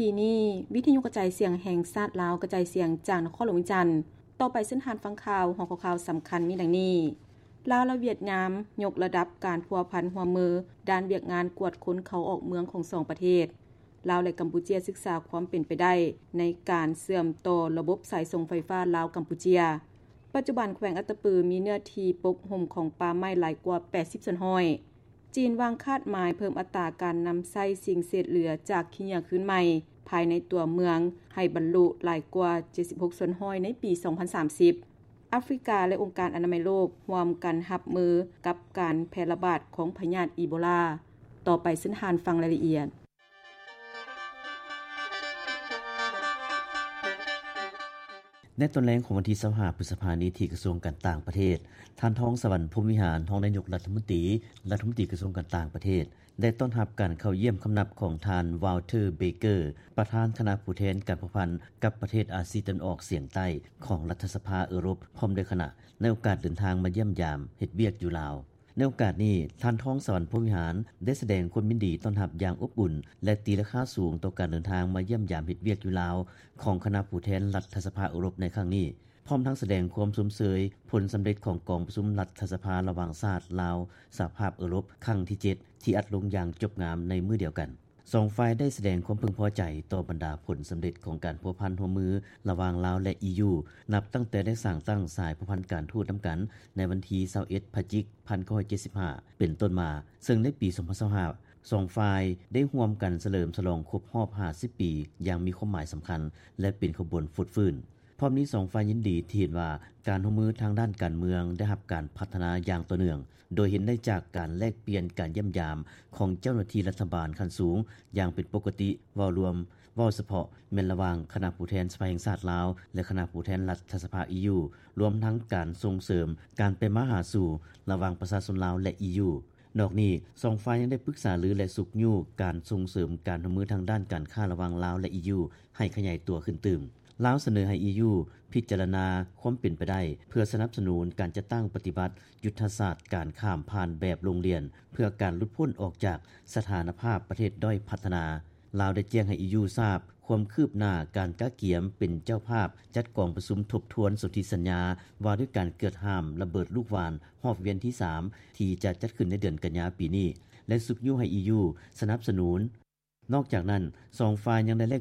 ທີ່ນີ້ ວິທະຍຸກະຈາຍສຽງແຫ່ງຊາດລາວ ກະຈາຍສຽງຈາກນະຄອນຫຼວງວຽງຈັນ. ຕໍ່ໄປເຊີນທ່ານຟັງຂ່າວ. ຫົວຂໍ້ຂ່າວສຳຄັນມີດັ່ງນີ້: ລາວ ແລະ ຫວຽດນາມ ຍົກລະດັບການພົວພັນຮ່ວມມື ດ້ານວຽກງານກວດຄົນເຂົ້າອອກເມືອງຂອງສອງປະເທດ. ລາວ ແລະ ກຳປູເຈຍ ສຶກສາຄວາມເປັນໄປໄດ້ ໃນການເຊື່ອມຕໍ່ລະບົບສາຍສົ່ງໄຟຟ້າລາວ-ກຳປູເຈຍ. ປັດຈຸບັນແຂວງອັດຕະປື ມີເນື້ອທີ່ປົກຫຸ້ມຂອງປ່າໄມ້ຫຼາຍກວ່າ ແປດສິບສ່ວນຮ້ອຍ. ຈີນວາງຄາດໝາຍເພີ່ມອັດຕາການນຳໃຊ້ສິ່ງເສດເຫຼືອຈາກຂີ້ເຫຍື້ອຄືນໃໝ່ ພາຍໃນຕົວເມືອງ ໃຫ້ບັນລຸຫຼາຍກວ່າ ເຈັດສິບຫົກສ່ວນຮ້ອຍ ໃນປີສອງພັນສາມສິບ. ອາຟຣິກາ ແລະ ອົງການອະນາໄມໂລກ ຮ່ວມກັນຮັບມືກັບການແຜ່ລະບາດຂອງພະຍາດອີໂບລາ. ຕໍ່ໄປເຊີນທ່ານຟັງລາຍລະອຽດ. ໃນຕອນແລງຂອງວັນທີຊາວຫ້າ ພຶດສະພານີ້ ທີ່ກະຊວງການຕ່າງປະເທດ, ທ່ານ ທອງສະຫວັນ ພົມວິຫານ ຮອງນາຍົກລັດຖະມົນຕີ, ລັດຖະມົນຕີກະຊວງການຕ່າງປະເທດ ໄດ້ຕ້ອນຮັບການເຂົ້າຢ້ຽມຄຳນັບຂອງທ່ານ ວາວເທີ ເບເກີ ປະທານຄະນະຜູ້ແທນການພົວພັນກັບປະເທດອາຊີຕາເວັນອອກສຽງໃຕ້ຂອງລັດຖະສະພາເອີຣົບ ພ້ອມດ້ວຍຄະນະ ໃນໂອກາດເດີນທາງມາຢ້ຽມຢາມເຮັດວຽກຢູ່ລາວ. ໃນໂອກາດນີ້ ທ່ານ ທອງສະຫວັນ ພົມວິຫານ ໄດ້ສະແດງຄວາມຍິນດີຕ້ອນຮັບຢ່າງອົບອຸ່ນ ແລະ ຕີລາຄາສູງຕໍ່ການເດີນທາງມາຢ້ຽມຢາມເຮັດວຽກຢູ່ລາວ ຂອງຄະນະຜູ້ແທນລັດຖະສະພາເອີຣົບໃນຄັ້ງນີ້, ພ້ອມທັງສະແດງຄວາມຊົມເຊີຍຜົນສຳເລັດຂອງກອງປະຊຸມລັດຖະສະພາລະຫວ່າງຊາດລາວ-ສະຫະພາບເອີຣົບ ຄັ້ງທີເຈັດ ທີ່ອັດລົງຢ່າງຈົບງາມໃນມື້ດຽວກັນ. ສອງຝ່າຍໄດ້ສະແດງຄວາມເພິ່ງພໍໃຈຕໍ່ບັນດາຜົນສຳເລັດຂອງການພົວພັນຮ່ວມມືລະຫວ່າງລາວ ແລະ ອີຢູ ນັບຕັ້ງແຕ່ໄດ້ສ້າງຕັ້ງສາຍພົວພັນການທູດນຳກັນໃນວັນທີຊາວເອັດ ພະຈິກ ພັນເກົ້າຮ້ອຍເຈັດສິບຫ້າ ເປັນຕົ້ນມາ, ເຊິ່ງໃນປີສອງພັນຊາວຫ້າ ສອງຝ່າຍໄດ້ຮ່ວມກັນສະເຫຼີມສະຫຼອງຄົບຮອບຫ້າສິບປີ ຢ່າງມີຄວາມໝາຍສຳຄັນ ແລະ ເປັນຂະບວນຟົດຟື້ນ. ພ້ອມນີ້ ສອງຝ່າຍຍິນດີທີ່ເຫັນວ່າການຮ່ວມມືທາງດ້ານການເມືອງໄດ້ຮັບການພັດທະນາຢ່າງຕໍ່ເນື່ອງ, ໂດຍເຫັນໄດ້ຈາກການແລກປ່ຽນການຢ້ຽມຢາມຂອງເຈົ້າໜ້າທີ່ລັດຖະບານຂັ້ນສູງຢ່າງເປັນປົກກະຕິ. ເວົ້າລວມ, ເວົ້າສະເພາະແມ່ນລະຫວ່າງຄະນະຜູ້ແທນສະພາແຫ່ງຊາດລາວ ແລະ ຄະນະຜູ້ແທນລັດຖະສະພາອີຢູ, ລວມທັງການສົ່ງເສີມການໄປມາຫາສູ່ລະຫວ່າງປະຊາຊົນລາວ ແລະ ອີຢູ. ນອກນີ້ ສອງຝ່າຍຍັງໄດ້ປຶກສາລື ແລະ ຊຸກຍູ້ການສົ່ງເສີມການຮ່ວມມືທາງດ້ານການຄ້າລະຫວ່າງລາວ ແລະ ອີຢູ ໃຫ້ຂະຫຍາຍຕົວຂຶ້ນຕື່ມ. ລາວສະເໜີໃຫ້ອີຢູພິຈາລະນາຄວາມເປັນໄປໄດ້ ເພື່ອສະໜັບສະໜູນການຈັດຕັ້ງປະຕິບັດຍຸດທະສາດການຂ້າມຜ່ານແບບໂຮງຮຽນ ເພື່ອການຫຼຸດພົ້ນອອກຈາກສະຖານະພາບປະເທດດ້ອຍພັດທະນາ. ລາວໄດ້ແຈ້ງໃຫ້ອີຢູຊາບຄວາມຄືບໜ້າການກະກຽມເປັນເຈົ້າພາບຈັດກອງປະຊຸມທົບທວນສົນທິສັນຍາວ່າດ້ວຍການເກືອດຫ້າມລະເບີດລູກຫວ່ານຮອບວຽນທີສາມ ທີ່ຈະຈັດຂຶ້ນໃນເດືອນກັນຍາປີນີ້ ແລະ ຊຸກຍູ້ໃຫ້ອີຢູສະໜັບສະໜູນ. ນອກຈາກນັ້ນ ສອງຝ່າຍຍັງໄດ້ແລກ